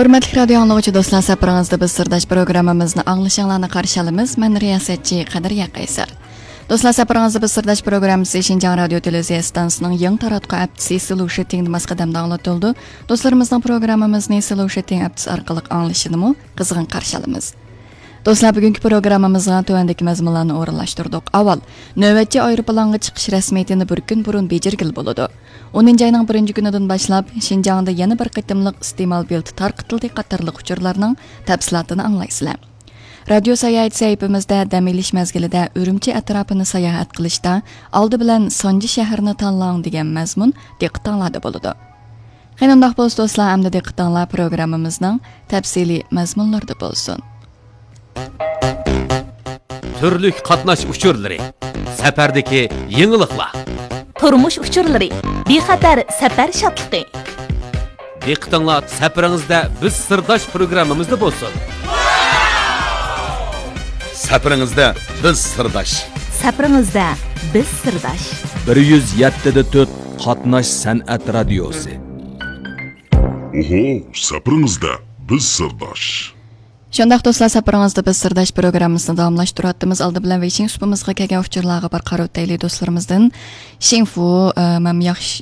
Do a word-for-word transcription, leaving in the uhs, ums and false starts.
ھۆرمەتلىك رادىيو ئاڭلىغۇچى دوستلار، سەپىرىڭىزدە بىز سىرداش پروگراممىمىزنى ئاڭلىشىڭلارنى قارشى ئالىمىز. مەن رىياسەتچى قەدرىيە قەيسەر. دوستلار، سەپىرىڭىزدە بىز سىرداش پروگراممىسى شىنجاڭ رادىيو تېلېۋىزىيە ئىستانسىسىنىڭ يېڭى تاراتقۇ ھەپتىسى سلوشىتىڭدا ماس قەدەمدە ئاڭلىتىلىدۇ. دوستلىرىمىزنىڭ پروگراممىمىزنى سلوشىتىڭ ھەپتىسى ئارقىلىق ئاڭلىشىنىمۇ قىزغىن قارشى ئالىمىز. دوستلار، بۈگۈنكى پروگراممىمىزغا تۆۋەندىكى مەزمۇنلارنى ئورۇنلاشتۇردۇق. ئاۋۋال، نۆۋەتچى ئايروپىلانغا چىقىش رەسمىيىتىنى بىر كۈن بۇرۇن بېجىرگىلى بولىدۇ. ئونىنچى ئاينىڭ بىرىنچى كۈنىدىن باشلاپ، شىنجاڭدا يەنە بىر قېتىملىق ئىستېمال بېلىتى تارقىتىلدى قاتارلىق ئۇچۇرلارنىڭ تەپسىلاتىنى ئاڭلايسىلەر. رادىيو ساياھەت سەھىپىمىزدە دەم ئېلىش مەزگىلىدە ئۈرۈمچى ئەتراپىنى ساياھەت قىلىشتا ئالدى بىلەن سانجى شەھىرىنى تاللاڭ دېگەن مەزمۇن دىققىتىڭلاردا بولىدۇ. قېنى ئۇنداق بولسا دوستلار، ئەمدى دىققىتىڭلار پروگراممىمىزنىڭ تەپسىلىي مەزمۇنلىرىدا بولسۇن. تۈرلۈك قاتناش ئۇچۇرلىرى، سەپەردىكى يېڭىلىقلار، تۇرمۇش ئۇچۇرلىرى، بىخەتەر سەپەر شادلىقى. دىققىتىڭلار سەپىرىڭىزدە بىز سىرداش پروگراممىمىزدا بولسۇن. سەپىرىڭىزدە بىز سىرداش. سەپىرىڭىزدە بىز سىرداش. بىر يۈز يەتتە دە تۆت قاتناش سەنئەت رادىيوسى. ئوھو، سەپىرىڭىزدە بىز سىرداش. شۇنداق دوستلار، سەپىرىڭىزدە بىز سىرداش پروگراممىسىنى داۋاملاشتۇرۇۋاتىمىز. ئالدى بىلەن ۋېيشىڭ سۇپىمىزغا كەلگەن ئۇچۇرلارغا بىر قارىۋېتەيلى دوستلىرىمىزدىن. شىڭفۇ، ئە، مەن ياخشى،